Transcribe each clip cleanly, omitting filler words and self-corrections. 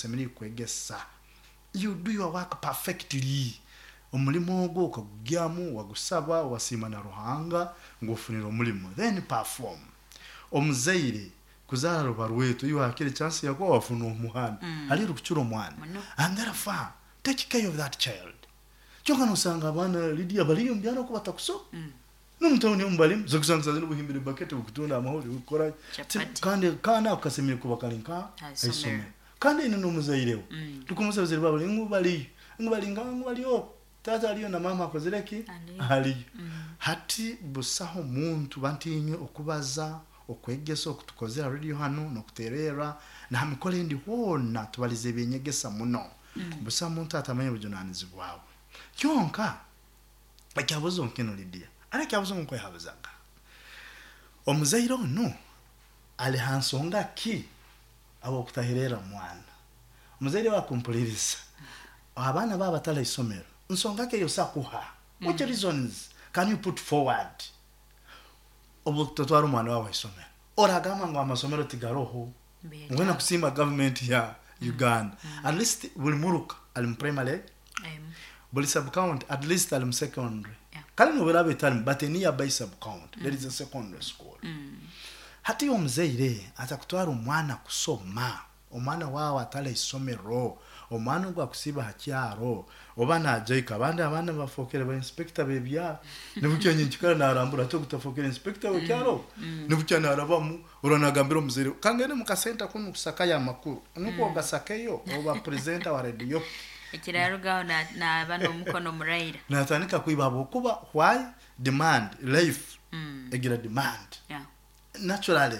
Osemeriire kwegesa. You do your work perfectly. Omulimo ogwo okagugyamu, wagusaba, wasiima na Ruhanga ngu ofunire omulimo, then perform. Omuzaire kuzaara ruba rwetu, iwe hakire chance yakuba wafuna omwana, haliyo orukukira omwana. And therefore, take care of that child. Kyonka nosanga abaana Lydia baliyo omu byaro oku batakusoma. N'omu tawuni omu balimu, oza kusanga saaha zinu buhimbire baketi bukutunda amahuri bukukora ki, kandi akaana ako kasemeriire kuba kali nka haisomero. Kandi aine n'omuzaire we. Tukamubuuza abazaire baabo ngu bariyo, ngu bari nkaha, ngu bari oku, taata ariyo na maama akozire ki? Ariyo. Hati busaho muntu bantu inywe okubaza, okwegesa oku tukozere ha radio hanu n'okutererra na ha mikoro endi hoona tubalize eby'enyegesa muno. Busaho muntu atamanya obujunanizibwa bwe. Kyonka Ekyabuzo nkinu Lydia, ari ekyabuzo nkwehabuzaga. Omuzaire onu ali ha nsonga ki habw'okutahererra mwana? Omuzaire we akumpuliriza, abaana baabo batali ha isomero, nsonga ki ey'osobora kuha? Which reasons can you put forward obw'okutatwara omwana waawe ha isomero? Oragamba ngu amasomero tigaroho, mbwenu kusiima gavumenti ya Uganda. At least buli muruka ali mu primary Buli sub county at least ali mu secondary. Kale nobu eraaba etarimu but a nearby sub county there is a secondary school. Hati iwe omuzaire atakutwara omwana kusoma, omwana waawe atari ha isomero, omwana ogu akusiiba ha kyaro, oba najaika abandi abaana bafookere ba inspector b'ebyaro. Nibukya nyenkikara narambura hati ogu tafookere inspector w'ekyaro ogu? Nibukya narabamu oraba nagambira omuzaire we, kangende mu kasenta kunu kusakayo amakuru. Nukwo ogasakeyo oba presenter wa radio. Ekirarugaho naaba n'omukono muraira. Natandika kwiba habwokuba why demand life egira demand. Naturally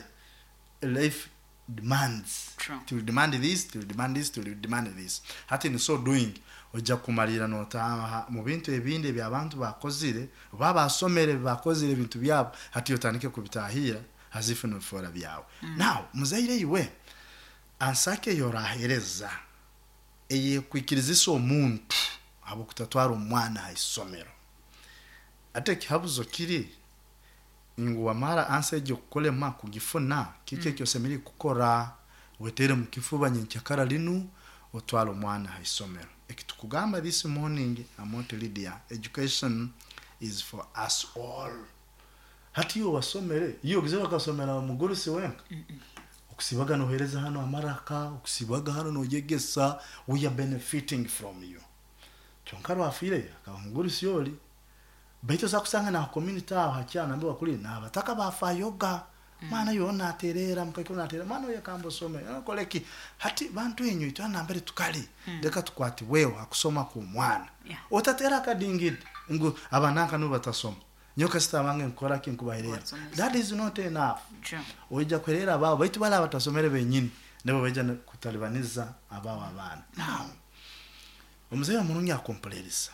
life demands. It will demand this, it will demand this, it will demand this. Hati in so doing oija kumariira notaaha mu bintu ebindi ebi abantu bakozire oba basomere ebi bakozire ebintu byabo hati otandike kubitahiira as if nobifoora byawe. Now muzaire iwe answer ki eyi orahereza eyekwikirizisa omuntu habw'okutatwara omwana ha isomero? Hati ekihabuzo kiri ngu wamara ansa egyo kukulema kugifuna, kiki eki osemeriire kukora? Weteere mu kifuba nyenkyakara linu otwale omwana ha isomero. Ekitukugamba this morning Amooti Lydia, education is for us all. Hati iwe wasomere, iwe ogezere okasomera omugurusi wenka? Okusiibaga noheereza hanu amaraka, okusiibaga hanu noyegesa, we are benefiting from you. Kyonka rwafiireyo akaba mugurusi ori. Baitu osobora kusanga na ha community aho ha kyaro nambere wakuliire n'abataka bafayoga. Mwana oyo natereera, mukaikuru natereera, mwana oyekamba osome, okole ki. Hati bantu inywe itwena nambere tukali, leka tukwatibweho ha kusoma kw'omwana. Otateera akadingidi ngu abananka nubo batasoma. Nyowe kasita abange nkukora ki nkubahereera. That is not enough. Oija kuhereera abaawe baitu bali abatasomere benyini nibo baija kutalibaniza abaawe abaana. Now, omuzaire omurungi akumpuliriza,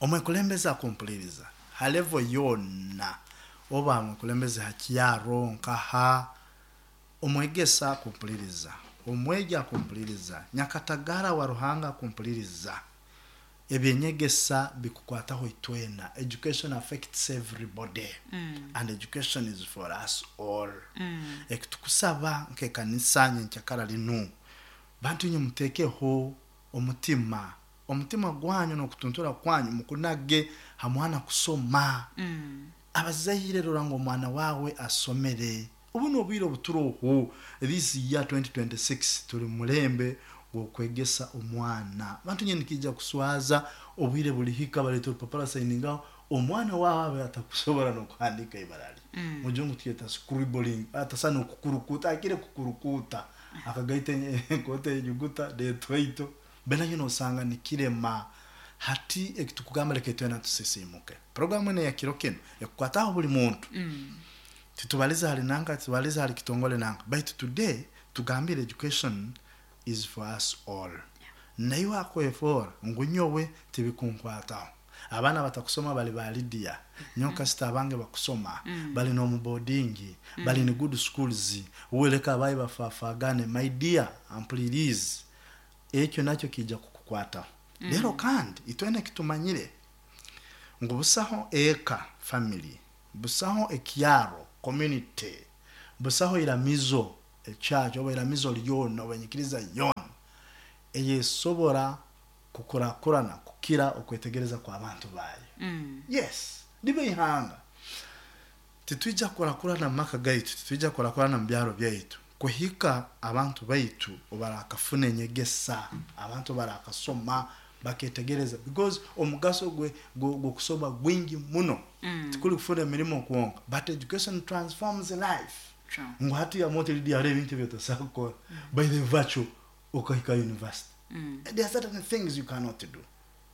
omwekulembeze akumpuliriza ha level yoona, oba mwekulembeze ha kyaro nkaha, omwegesa akumpuliriza, omwegi akumpuliriza, nyakatagara wa Ruhanga akumpuliriza. Eby'enyegesa bikukwataho itwena, education affects everybody and education is for us all. Ekitukusaba nk'ekanisa nyenkyakara linu, bantu inywe mutekeho omutima, omutima gwanyu n'okutuntura kwanyu mukunage ha mwana kusoma. Abazaire rora ngu omwana wawe asomere. Obu n'obwire obuturoho, this year 2026 tuli mumulembe gw'okwegesa omwana. Bantu nyowe nikiija kuswaza obwire bulihika baleeta orupapura sayiningaho omwana waawe abe atakusobora n'okuhandiika ibara lye. Mujungu tukyeta scribbling, atasobora n'okukurukuuta, akire kukurukuuta akagaita enkoto enyuguta n'etwaito, mbere nyowe nosanga nikirema. Hati ekitukugamba leka itwena tusisiimuke. Puroguramu enu eya kiro kinu ekukwataho buli muntu. Titubaliza hali nanka, titubaliza hali kitongole nanka, baitu today tugambire education is for us all. Naiwe akwefoora ngu nyowe tibikunkwataho. Abaana abatakusoma bali ba Lydia, nyowe kasita abange bakusoma, bali n'omu boarding, bali in good schools, uwe leka abaye bafaafagane, my dear ampuliriize, ekyo nakyo kiija kukukwataho. Rero kandi itwena ekitumanyire ngu busaho eka, family, Busaho ekyaro, community, busaho iramizo, church, oba iramizo lyona oba enyikiriza yoona. Eyesobora kukurakurana kukira okwetegereza kw'abantu bayo. Yes, libe ihanga. Titwija kukurakurana mu maka gaitu, titwija kukurakurana mu byaro byaitu kuhika abantu baitu obarakafuna enyegesa, abantu barakasoma baketegereza, because omugaso gw'okusoma gwingi muno. Tikuli kufuna emirimo kwonka, but education transforms life. True. Ngu hati yamoto lidi hariho ebintu ebyotasobola kukora by the virtue okahika university. There are certain things you cannot do,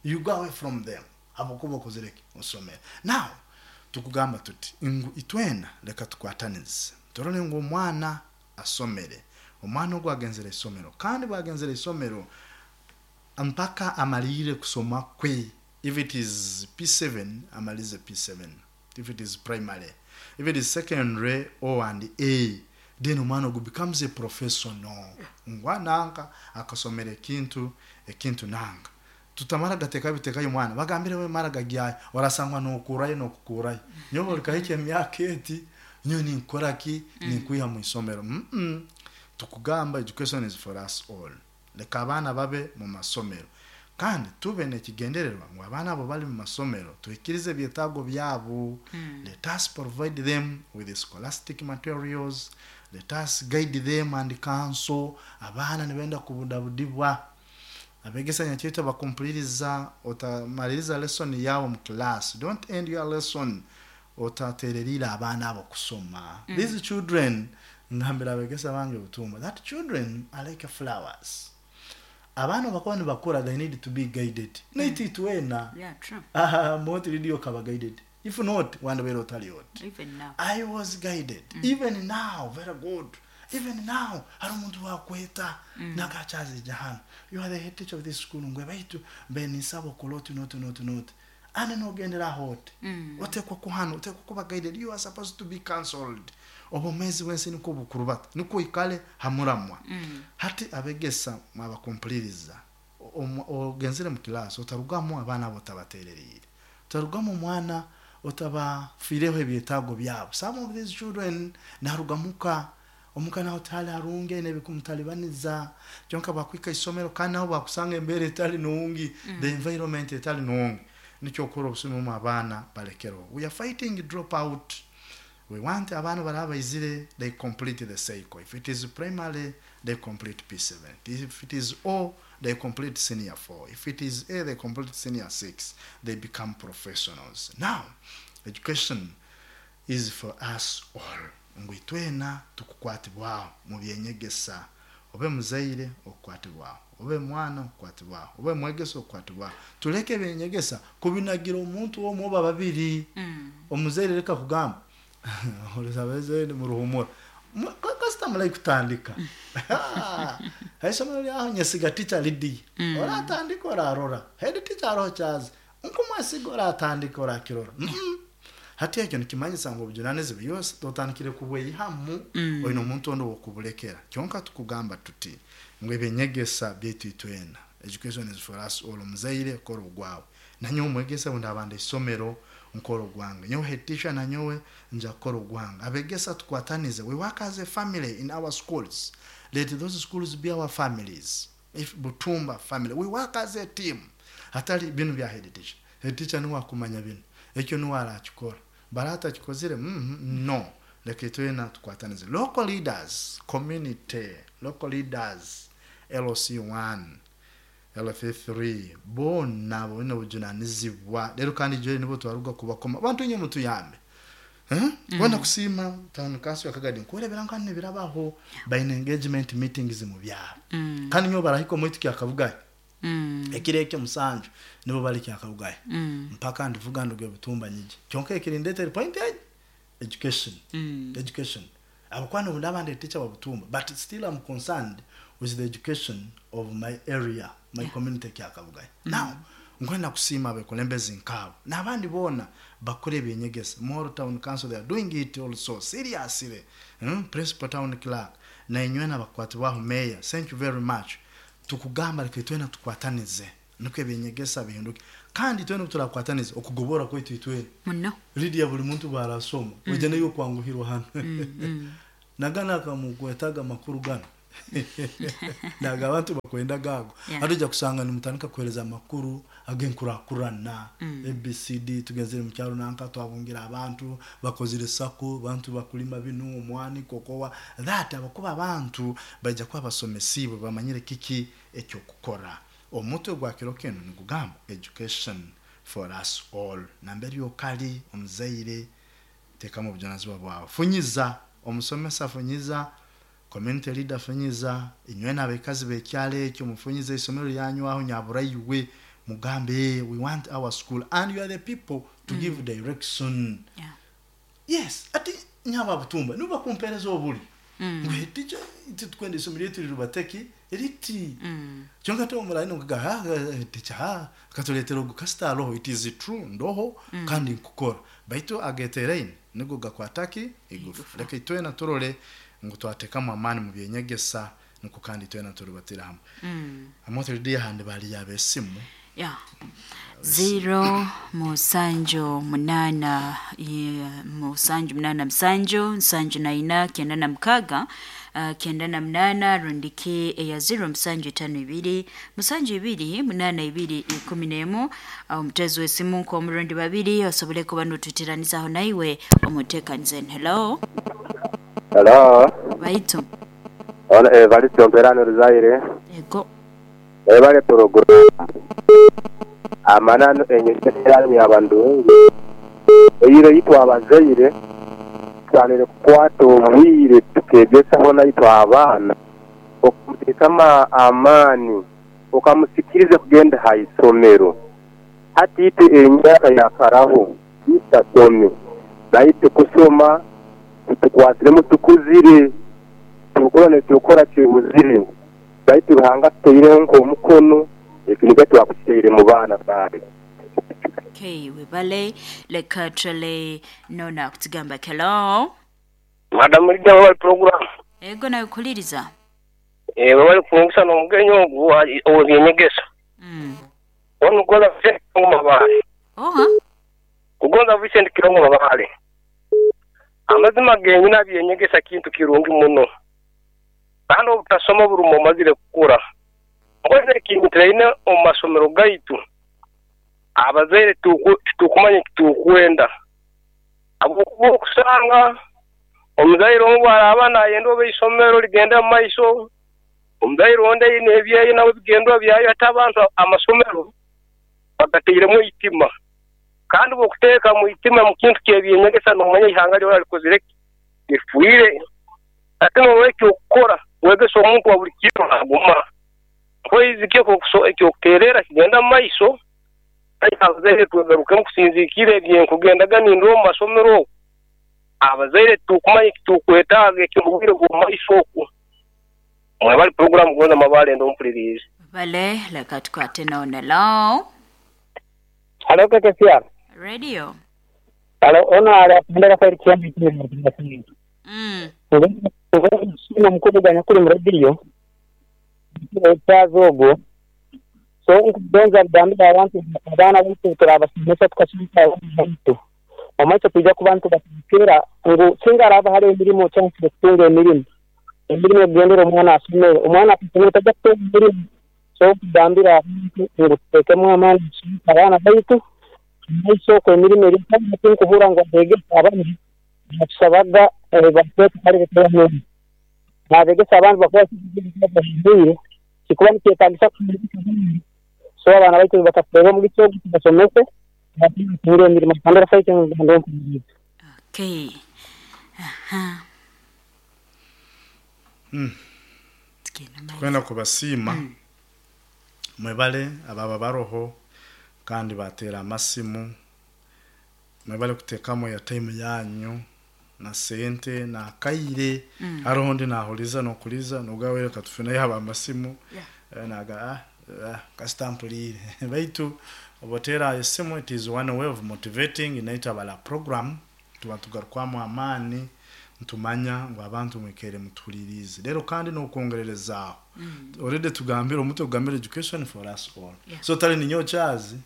you go away from them habwokuba okozere ki? Osomere. Now tukugamba tuti ngu itwena leka tukwatanize turole ngu omwana asomere, omwana ogu agenzere isomero, kandi bwagenzere isomero mpaka amalire kusoma kwe. If it is P7, amalize P7. If it is primary, if it is secondary, O and A, then omwana ogu becomes a professional, ngwa nanka akasomera ekintu nanka. Tutamara gateka bitekayo omwana bagambire we mara gagyayo, orasangwa nokurayo nokukurayo nyowe olikahikya emyaka eti nyowe ninkora ki, ninkwiha mu isomero. Tukugamba education is for us all. Leka abaana babe mu masomero, kandi tube n'ekigendererwa ngu abaana abo bali mu masomero tuhikirize ebyetaago byabo. Let us provide them with the scholastic materials, let us guide them and counsel. Abaana nibenda kubudabudibwa. Abegesa nyakyetwa bakumpuliriza, otamaliriza lesson yawe mu class, don't end your lesson otatererire abaana abo kusoma. These children, ngambira abegesa bange butumba that children are like flowers. Abaana bakuba nibakura, they need to be guided. Naiti itwena. Yeah, true. Aha, moti lidio kaba guided. If not, wandabere otali oti. Even now. I was guided. Even now, very good. Even now, hari omuntu wakweta nakakyazija hano. You are the head teacher of this school. Ngwe baitu benisaba okole oti noti noti noti. Ane nogendera hoti. Otekwa kuhana, otekwa kuba guided. You are supposed to be counseled. Obumezi bwensi niko bukurubata, niko ikale hamuramwa. Hati abegesa mwabakumpuliriza. Ogenzere mu class otarugamu abaana abo otabatererire. Otarugamu omwana otabafiireho ebyetaago byabo. Some of these children narugamuka omuka naho tali harunge nebikumutalibaniza, kyonka bakwika isomero kandi naho bakusanga embera etali nungi, the environment etali nungi. Nikyo okora obusumu mu abaana balekero. We are fighting drop out. We want abaana baraba baizire, they complete the cycle. If it is primary, they complete P7. If it is O, they complete senior 4. If it is A, they complete senior 6. They become professionals. Now, education is for us all. Ngu itwena tukukwatibwaho mu byenyegesa. Obe muzaire okukwatibwaho, obe mwana okukwatibwaho, obe mwegesa okukwatibwaho. Tuleke ebyenyegesa kubinagira omuntu omwe oba babiri. Omuzaire reka kugamba Olizabeze mu ruhumura. Kasita mulai kutandika. Haisomero lyaho nyesiga teacher Lydia. Oratandika orarora. Head teacher aroho chazi. Nkumwesiga oratandika orakirora. Hati ekyo nikimanyisa ngu obujunanizibwa yose totandikire kubweyihamu, oine omuntu ondi w'okubulekera. Kyonka tukugamba tuti ngu ebyenyegesa byaitu itwena. Education is for us all. Omuzaire kora ogwawe. Nanyowe omwegesa bundi abanda isomero nkora ogwange. Nyowe head teacher nanyowe nja kukora ogwange. Abegesa tukwatanize. We work as a family in our schools. Let those schools be our families. If Butumba family, we work as a team. Hatari binu bya head teacher. Head teacher niwe akumanya binu. Ekyo niwe arakikora. Barata kikozire? No. Leka itwena tukwatanize. Local leaders, community, local leaders, LC1, LC3, bona bona obujunanizibwa. Rero kandi jwe nibo twaruga kubakoma. Abantu nye mutuyambe. Kwenda kusima town council yakagadi nkurebera nkane birabaho by engagement meetings mu byaro. Kandi nyo barahiko mwitu kyakavugaye. Ekireke musanju nibo bali kyakavugaye. Mpaka ndivuga nduge Butumba nyiji. Kyonka ekirindete point age education. Education. Abakwano ndabande teacher wa Butumba, but still I'm concerned with the education of my area, my community kyakavugaye. Now nkwenda kusima abekulembezi nkabo n'abandi bona bakore ebyenyegesa. Moro Town Council, they are doing it also seriously. Principal town clerk na inywe n'abakwatibwaho mayor, thank you very much. Tukugamba reka itwena tukwatanize nuko ebyenyegesa bihinduke, kandi itwena turakwatanize okugobora kwaitu itwena muno. Lydia buli muntu barasoma ojja nayo kwanguhirwa hano. Nagana akamukwetaga makuru gano. Naga abantu bakwenda gago. Yeah. Hati ojja kusanga nimutandika kuhereza amakuru ag'enkurakurana. ABCD tugenzere mu kyalo nanka twabungira abantu bakozire sako bantu bakulima binu omwani kokowa that abakuba abantu baija kuba basomesibwe bamanyire kiki ekyokukora. Omutwe gwa kiro kinu nigugamba education for us all. Nambere okali omuzaire tekamu obujunanizibwa bwawe, funyiza omusomesa, funyiza community leader, funyiza inywe n'abakazi b'ekyalo ekyo, mufunyize isomero lyanywaho nyaburaiwe, mugambe, "Hey, we want our school and you are the people to give direction." Yes, ati nyaba butumba nibo bakumpereza obuli ngwe teacher tukwenda isomero lyetu lirubateki riti. Kyonka te omurayi nkuga teacher ha katuletera ogu kasita roho. It is true ndoho kandi nkukora baitu ageteraine nigo gakwataki igufa. Reka itwena turole ngu twatekamu amaani mu byenyegesa niko kandi itwena turubatira hamwe. Amoto lidiya handi bali yabesimu. Yeah. 0 7 8 7 8 7 7 4 96 98 rundiki eya 0 7 5 2 7 2 8 2 11. Omutezi w'esimu nk'omurundi babiri osobole kuba notutiranizaho naiwe omuteekanize. Hello. Hello. Baitu. Ona Evaristo Mperano Ruzaire. Ego. Ebale program. Amanano enyekera y'abantu. Eyire yitwa abazaire tusanire kukwata obwire tukegesaho naitwe abaana okumuteekamu amaani okamusikiriza kugenda ha isomero. Hati itwe emyaka yakaraho itasome baitu kusoma tutukwasiremu tukuzire tukora nitukora kibuzire baitu Ruhanga tuteireho nk'omukono ekiniga twakukiteire mu baana baare. Okay, webale. Leka trale nona kutugamba. Hello. Madam Lydia, wabali program. Ego, nawe kuliriza. Wabali kufungisa n'omugenyi ogu ow'ebyenyegesa. Ono Kugonza Vincent Kirongo Mabale. Oha. Kugonza Vincent Kirongo Mabale. Amazima genyina byenyegesa kintu kirungi muno. Kandi obutasoma burumu omazire kukura. Ngoze ekintu tulaine omu masomero gaitu. Abazaire tukumanya tukwenda. Ahabwokuba okusanga omuzaire omu bwaraba nayenda oba isomero ligenda mu maiso, omuzaire ondi aine ebyeyo nawe bigendwa byayo, ate abantu amasomero bagateiremu eitima. Kandi bw'okuteeka mu itima mu kintu ky'ebyenyegesa nomanya ihanga lyona likozire ki? Lifwire. Ate n'olwekyo okukora wegesa omuntu wa buli kiro naguma. Mpoizi kyo ekyokuterera kigenda mu maiso, abazaire twegarukemu kusinziikira ebyenkugendaga nindora omu masomero oku. Abazaire tukumanya ekitukwetaaga eky'obwire bw'omu maiso oku. Mwebali program Kugonza Mabale ndo mpulirize. Bale, leka tukwate nona. Hello. Halo KKCR. Radio. Halo, ono ali apendera fairi kiambi kiri. Sina mukuru ganya kuri mu radio. Kyazo ogwo. So nkugonza kugambira abantu abaana baitu turabasomesa tukasomesa abantu. Omaiso twija kuba nitubatekera ngu singa araba hariho emirimo chance kutunga emirimo. Emirimo egendera omwana asomere. Omwana asomere tajja kutunga emirimo. So kugambira abantu ngu tuteekemu amaani tusomese abaana baitu maiso okwo emirimo eri kandi tinkuhurra ngu abeegesa abandi batusabaga bateeka hali bitera nabegesa abantu bakuba bahindwire kikuba nikyetagisa. So abaana baitu bakakureeba omugisa ogu tubasomese batunge emirimo kandi rafaite ngando. Okay. Aha. Tugenda maiso. Kwenda kubasiima mwebale ababa baroho kandi batera amasimu, mwebale kuteekamu ya time yanyu na sente na kaire. Hariho ndi nahuliza nokuliza nogawere katufuna yaba amasimu. Naga kasita mpulire baitu obotera esimu, it is one way of motivating inaita bala program tuba tugarukwamu amaani ntumanya ngu abantu mwikere mutulirize rero kandi nokwongererezaaho. Already tugambire omutwe gugambire education for us all. So tali ninyo kyazi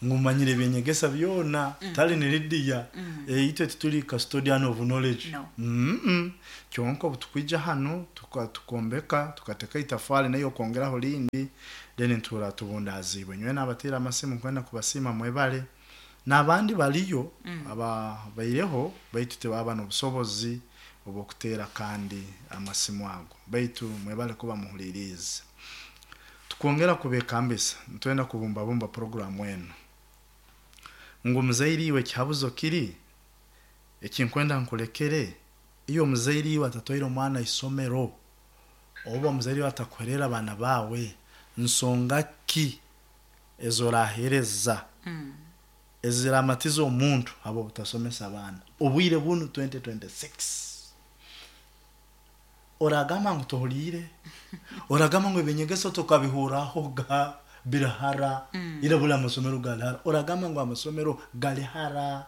Ngu manyire ebyenyegesa byona, tali ni Lydia. Itwe tituli custodian of knowledge. No. Kyonka obu tukwija hanu tukombeka tukateka itafari nayo okongeraho lindi, then ntura tubundaziibwe. Nyowe nabateera amasimu nkwenda kubasiima mwebale. N'abandi baliyo ababaireho baitu tibaba n'obusobozi obw'okuteera kandi amasimu ago, baitu mwebale kuba muhuliriize. Tukwongera kubekambisa, nitwenda kubumbabumba puroguramu enu ngu muzaire iwe ekihabuzo kiri ekinkwenda nkulekere, iyo omuzaire iwe atatwaire omwana isomero oba omuzaire iwe atakuherera abaana baawe, nsonga ki ezorahereza eziramatiza omuntu habw'obutasomesa abaana obwire bunu 2026? Oragamba ngu tohuliire, oragamba ngu ebyenyegesa tokabihurahoga birahara, ira buli amasomero gali hara, oragamba ngu amasomero gali hara.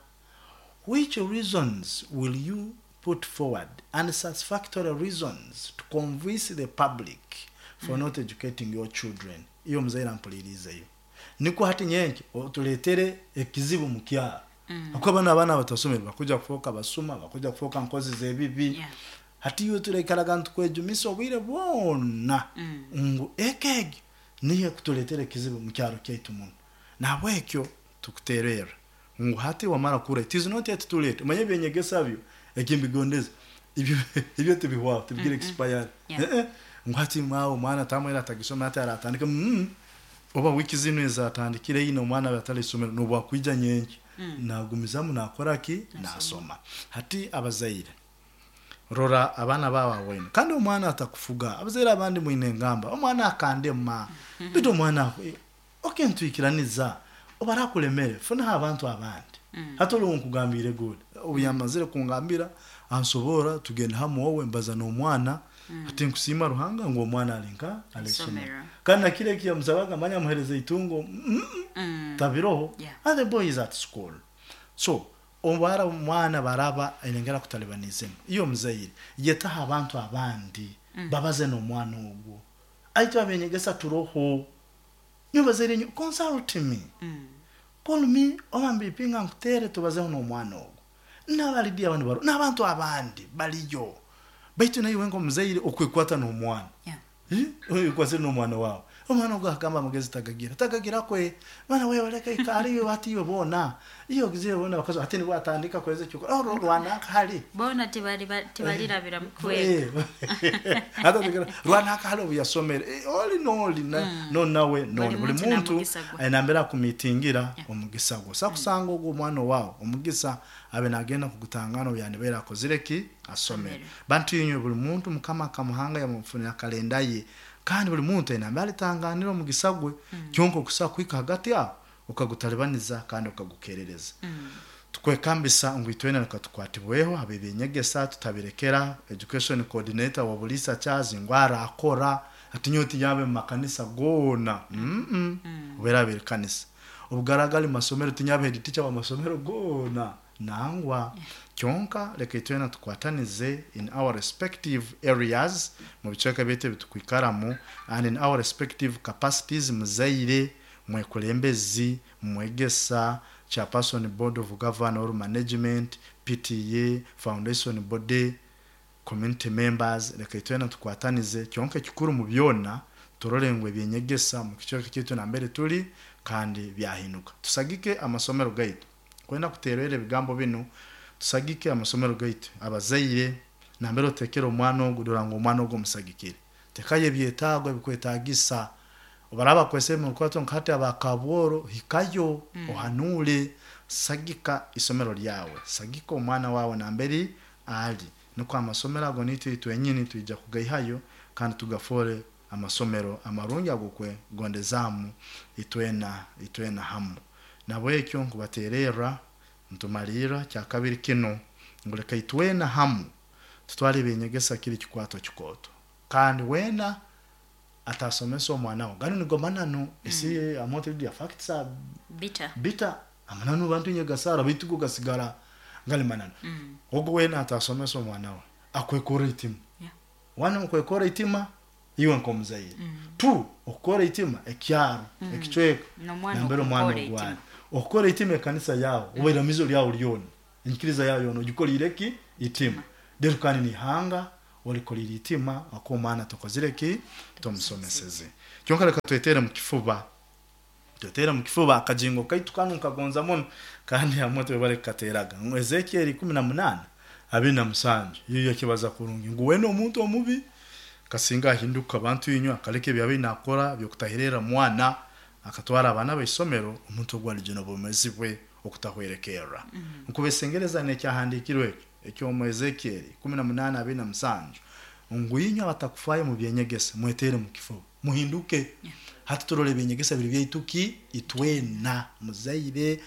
Which reasons will you put forward and satisfactory reasons to convince the public for not educating your children? Iyo omuzaire ampuliriizeyo, nikwo hati nyenki otuleetere ekizibu mu kyaro, habwokuba banu abaana abatasomere bakuja kufooka basuma, bakuja kufooka nkozi z'ebibi. Hati iwe turaikaraga nitukwejumisa obwire bwona ngu eka egyo niyo ekutuleetera ekizibu mu kyaro kyaitu muno. Nahabwekyo tukuteererra ngu hati wamara kura, it is not yet too late. Omanye ebyenyegesa byo ekimbigondeza ibyo tibihwaho, tibigira expiry. Ngu hati maawe omwana tamwera atagisoma hati aratandika, oba wiiki zinu ezatandikire ina omwana abe atali isomero nobu akwija nyenkya nagumizamu nakora ki? Nasoma. Hati abazaire, rora abaana baawe awaine, kandi omwana atakufuga. Abazaire abandi mwine engamba, omwana akandema, baitu omwana okay, nitwikiraniza obu arakulemere funaho abantu abandi. Hati oli nkugambiire good, obu yamazire kungambira ansobora tugenda hamu owe mbaza n'omwana. Hati nkusiima Ruhanga ngu omwana ali nka ali isomero, kandi nakiro eki yamusabaga manya amuhereza itungo, tabiroho. And the boy is at school. So obara omwana baraba ainengera kutalibanizemu, iyo omuzaire yetaho abantu abandi babaze n'omwana ogwo. Aitwe abenyegesa turoho, nyowe bazaire nyowe consult me, call me, oba mbipinga nkutere tubazeho n'omwana ogwo. N'abalidi abandi baroho, n'abantu abandi baliyo, baitu naiwe nk'omuzaire okwekwata n'omwana. Okwasire n'omwana wawe, omwana ogwo akagamba amagezi tagagira tagagira kwe mwana wewe leka ikara iwe hati iwe boona iyo ogizire boona bakazi hati nibwo atandika kweza ekyokora rwanaka hali boona tibalirabira mu kwega. Rwanaka hali obu yasomere, oli n'oli no nawe noli buli muntu ainambere akumitingira omugisa gwe. Osa kusanga ogwo omwana owawe omugisa abe nagenda kugutangana obu yandibaire akozire ki? Asomere. Bantu inywe buli muntu Mukama akamuhanga yamufunira kalenda ye, kandi buli muntu aine nambere alitanganira omugisa gwe, kyonka okusa kuhika hagati aho okagutalibaniza kandi okagukerereza. Tukwekambisa ngu itwena leka tukwatibweho habw'ebyenyegesa tutabirekera education coordinator wa Buliisa Charles ngu arakora ati nyowe tinyabe mu makanisa goona. Obu eraaba eri kanisa, obu garaaba gali masomero tinyabe head teacher w'amasomero goona. Nangwa. Kyonka leka itwena tukwatanize in our respective areas, mu bicweka byaitu ebi tukwikaramu, and in our respective capacities, muzaire, mwekulembezi, mwegesa, chairperson board of governor or management, PTA, foundation body, community members, leka itwena tukwatanize. Kyonka ekikuru mu byona, turole ngu ebyenyegesa mu kicweka kyaitu nambere tuli kandi byahinduka. Tusagike amasomero gaitu. Kwenda kuteerera ebigambo binu, tusagike amasomero gaitu. Abazaire, nambere otekere omwana ogu, dora ngu omwana ogu omusagikire. Tekayo ebyetaago ebikwetaagisa. Obaraba bakwesere mu rukurato nka hati aba Kabworo, hikayo, ohanuule, sagika isomero lyawe, sagika omwana wawe nambere ali. Nukwo amasomero ago naitwe itwenyini twija kugaihayo kandi tugafoole amasomero amarungi ag'okwegondezaamu itwena itwena hamu. Nabwekyo nkubateererra ntumalirra kyakabiri kinu ngu leka itwena hamu tutwale ebyenyegesa kiri kikwato kikooto, kandi weena atasomesa omwana we, ganu nigo mananu, esi amote facts are bitter, bitter, amananu bantu nyegasara baitu go gasigara gali mananu. Ogu weena atasomesa omwana we akwekora itima. One, okwekora itima iwe nk'omuzaire. Two, okukora itima ekyaro, ekicweka n'omwana nambere omwana okukora ogwali. Itima. Okukora itima ekanisa yawe oba iramizo lyawe lyona, enyikiriza yawe yona ogikolire ki? Itima. Rero kandi nihanga olikolire itima ako omwana tokozire ki? Tomusomeseze. Kyonka leka twetere mu kifuba. Twetere mu kifuba akajingo kaitu kanu nkagonza muno kandi hamwe twebale kukateraga. Ngu Ezekiel 18 27 iyo yakibaza kurungi ngu wena omuntu omubi kasinga ahinduka abantu inywe akaleka ebyabaire nakora byokutahirera mwana akatwara abaana b'isomero omuntu ogwo alijuna obwomezi bwe okutahwerekerra. Nkubesengereza n'ekyahandiikirwe ekyo ekyomu Ezekiel 18 27 ngu inywe abatakufayo mu byenyegesa mwetere mu kifuba muhinduke. Hati turole ebyenyegesa biri byaitu ki itwena muzaire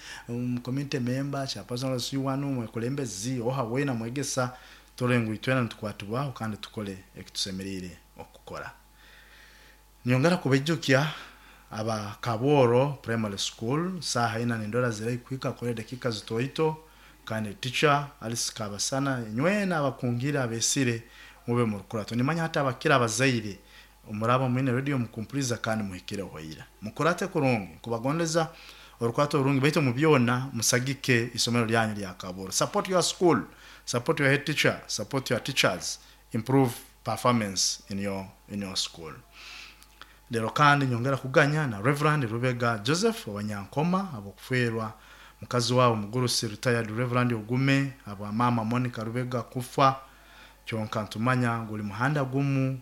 community member chairperson wanu mwekulembezi oha wena mwegesa turole ngu itwena nitukwatibwaho kandi tukole ekitusemeriire okukora. Nyongera kubaijukya aba Kaboro Primary School saha ina nindora zirai kuhika kore dakika zitoito kandi teacher Alice Kabasana nywena abakungira abesire mube murukurato nimanya hata abakira abazaire omuraba mwine radio mukumpuliza kandi muhikire hoira mukurate kurungi kubagondeza orukwato orungi baitu mu byona musagike isomero lyanyu lya Kaboro. Support your school, support your head teacher, support your teachers, improve performance in your school. Lero kandi nyongera kuganya na Reverend Rubega Joseph Wanyankoma abokufwerwa mukazi wabo mugurusi retired Reverend Ogume aba mama Monica Rubega kufa kyonka ntumanya nguli muhanda gumu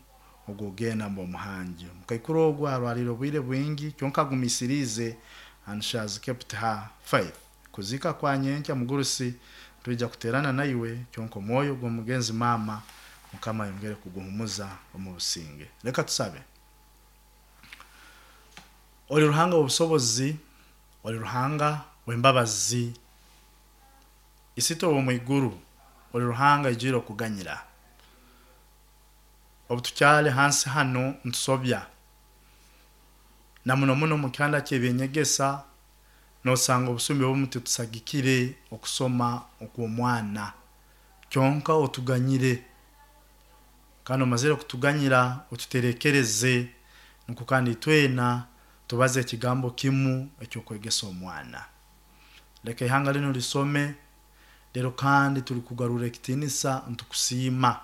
ogugenda mbo muhangi mukaikuru ogwo arwaliro obwire bwingi kyonka gumisirize and she has kept her faith. Kuzika kwa nyenkya mugurusi tuija kuterana naiwe kyonka omwoyo gw'omugenzi mama mukama yongere kuguhumuza omu businge. Leka tusabe. Oli Ruhanga w'obusobozi, oli Ruhanga w'embabazi, isito wo mwiguru, oli Ruhanga ijire okuganyira. Obutukyale hansi hano ntusobya na muno muno mu kyanda ky'ebyenyegesa nosanga obusumbi obumu titusagikire okusoma okw'omwana kyonka otuganyire kandi omazire kutuganyira otuterekereze nuko kandi itwena tubaze ekigambo kimu ekyokwegesa omwana. Leka ihanga lino lisome lero kandi tuli kugarura ekitinisa ntukusiima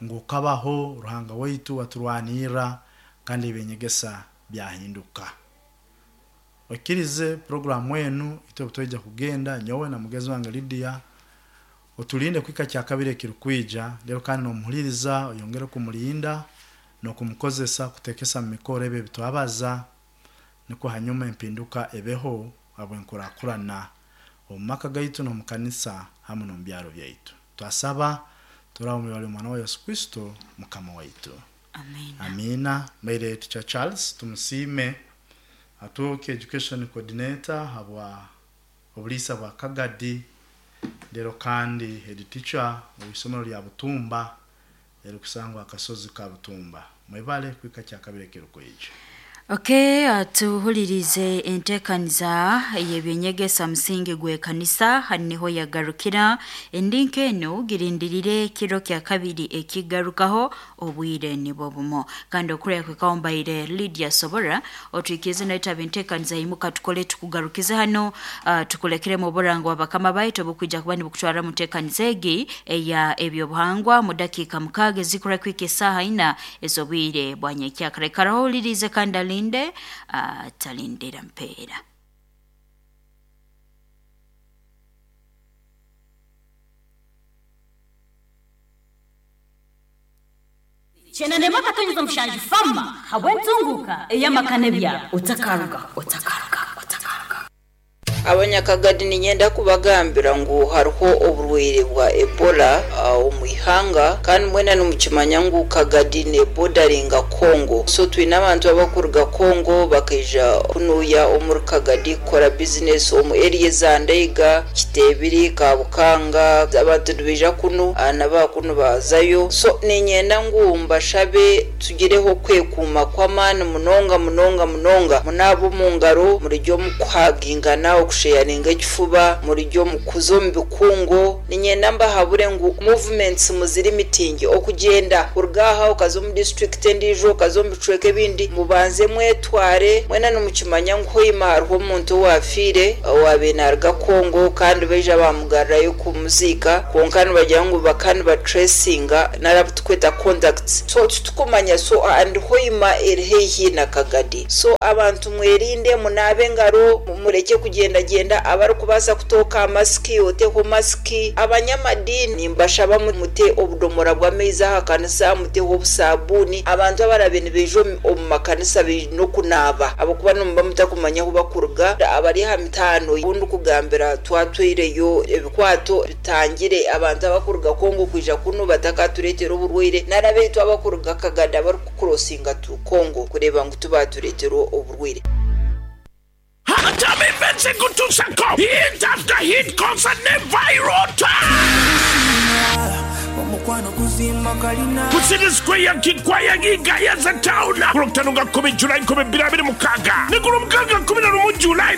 ngu kabaho Ruhanga waitu aturwanira kandi ebinyegesa byahinduka. Okirize programu enu itwe butweja kugenda nyowe na mugezi wange Lydia otulinde kwika kya kabiri ekirukwija lero kandi nomuhuliriza oyongere kumulinda nokumukozesa kutekesa mu mikoro ebyo bitwabaza niko hanyuma empinduka ebeho abwenkurakurana omu maka gaitu n'omukanisa hamwe n'omu byaro byaitu. Twasaba turaba mu mwana wa Yesu Kristo mukama waitu. Amina. Amina. Maire Teacher Charles tumusime atuuke education coordinator habwa obulisa bwa Kagadi lero kandi head teacher mu isomero lya Butumba erikusangwa akasozi ka Butumba. Mwebale kwika kya kabiri kirukwija. Okay, tuhulirize entekaniza y'ebyenyegesa musingi gw'ekanisa haniho yagarukira endinka eno girindirire kiro kya kabiri ekigarukaho obwire nibwo bumo kandi okurya kwekawombaire Lydia Sobora otwikize naitaba entekaniza yimuka tukole tukugarukize hano tukulekere mu burango abakama baitu obukwija kuba nibukutwara mu ntekaniza egi eya ebyobuhangwa mu dakika 6 zikura kwika esaha 4 ez'obwire bwa nyekyakare. Karahulirize kandi alinde atalindira mpeera. Chenande makatonyeza mushanju fama habwentunguka eyamakane byabo otakaruga otakaruga otakaruga. Abanyakagadi ninyenda kubagambira ngu hariho oburwaire bwa Ebola omu ihanga kandi mwena nimukimanya ngu Kagadi ne bordaringa Congo, so twine abantu abakuruga Congo bakaija kunuya omuri Kagadi kukora business omu area za Ndeiga, Kitebiri, Kabukanga, abantu nibaija kunu nabakunu bazayo. So ninyenda ngu mbashabe tugireho kwekuuma kw'amaani munonga munonga munonga munabo mu ngaro murijyo mukuhagingana kusheyaringa ekifuba muri omu kuza omu bikungu. Ninyenda mbahabure ngu movements muziri mitingi okugenda kuruga aha okaza omu district endiijo, okaza omu bicweka ebindi, mubanze mwetware mwena. Nimukimanya ngu Hoima hariho omuntu owafiire owaabaire naaruga Kongo, kandi baija bamugarurayo kumuziika, kwonka nibagira ngu baka nibatracinga nari tukweta contacts, so titukumanya. So and Hoima eri haihi na Kagadi, so abantu mwerinde, munaabe engaro, mureke kugendagenda. Abarikubaasa kutooka masiki, oteho masiki. Abanyamadini mbashaba mute obudomora bw'amaizi aha kanisa, muteho obusabuuni. Abantu abarabe nibaija omu makanisa baine okunaaba, ahabw'okuba nimuba mutakumanya ahu bakuruga. Abari aha mitaano obundi kugambira twatwireyo ebikwato bitangire abantu abakuruga Kongo kwija kunu batakatureetera oburwaire, nari abaitu abakuruga Kagadi abarikukurosinga tu Kongo kureeba ngu tubatureetera oburwaire. Hatami Events ekutuusako hit after hit concert ne Vyroota ku City Square, Kikwaya, Gayaza Town, ku Lwokutaano nga 10 July 2026 ne ku Lwomukaaga 11 July.